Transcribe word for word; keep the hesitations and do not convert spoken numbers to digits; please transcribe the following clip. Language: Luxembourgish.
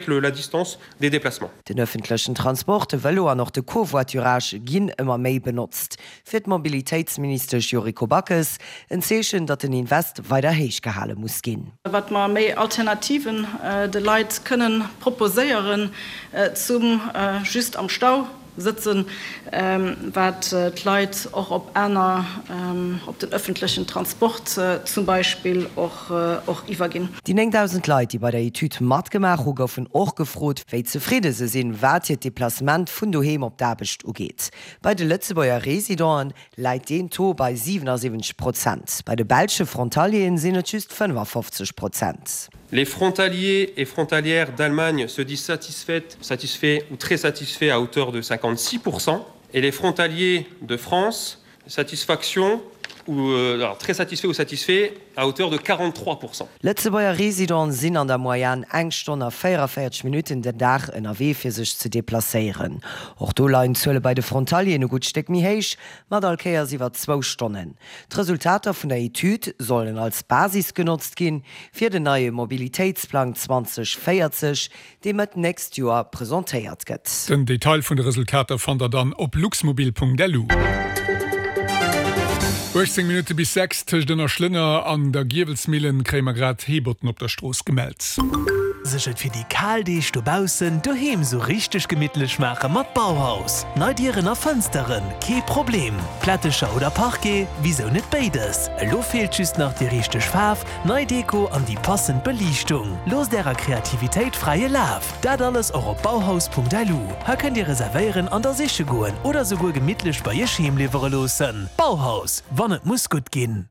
la distance des déplacements. Den ëffentlechen Transport, de Vëlo an och de Covoiturage ginn ëmmer méi benotzt. Fir d'Mobilitéitsministesch Yuriko Backes en Zeechen, datt den Invest weider héich gehale muss ginn. Wat mer méi Alternativen de Leit kënnen proposéieren zum just am Stau sëtzen, wat d'Leit och op aner, op den ëffentlechen Transport zum Beispill och iwwerginn. Déi néngdausend Leit, déi bei der Etüd matgemaach hu goufen och gefrot, wéi zefridde se sinn, wat hiert Deplacement vun doheem op d'Aarbecht ugeet. Bei de Lëtzebuerger Residenten läit deen Taux bei siwenasiwwenzeg Prozent, bei de belsche Frontalieren sinn et just fënnefafofzeg Prozent. Les frontaliers et frontalières d'Allemagne se disent satisfaites, satisfaits ou très satisfaits à hauteur de cinquante-six pour cent et les frontaliers de France, satisfaction ou alors très satisfaits ou satisfaits à hauteur de quarante-trois pour cent. Lëtzebuerger Residenten sinn an der Moyenne eng Stonn a véierevéierzeg Minutten den Dag ënnerwee fir sech ze deplacéieren. Och do leien d'Zuele bei de Frontalieren e gutt Stéck méi héich, mat all Kéiers iwwer zwou Stonnen. D'Resultater vun der Etüd sollen als Basis genotzt ginn fir den neie Mobilitéitsplang zwanzeg véierzeg, dee Mëtt nächst Joer presentéiert gëtt. Den Detail vun de Resultater fannt der dann op luxmobil Punkt lu. uechtzéng Minutte bis sechs, tëscht Ënnerschlënner an der Giewelsmillen kréie mer grad Heebotten op der Strooss gemellt. Sech et fir déi kal Deeg dobaussen doheem sou richteg gemittlech maache mat Bauhaus. Nei Dieren a Fënsteren, kee Problem. Plättecher oder Parquet, wisou net béides? Elo feelt just nach déi richteg Faarf, nei Deko an déi passend Beliichtung. Loosst ärer Kreativitéit fräie Laf! Dat alles och op bauhaus Punkt lu. Hei kënnt dir reservéieren an da siche goen oder souguer gemittlech bei iech heem liwwere loossen. Bauhaus, wann et muss gutt ginn.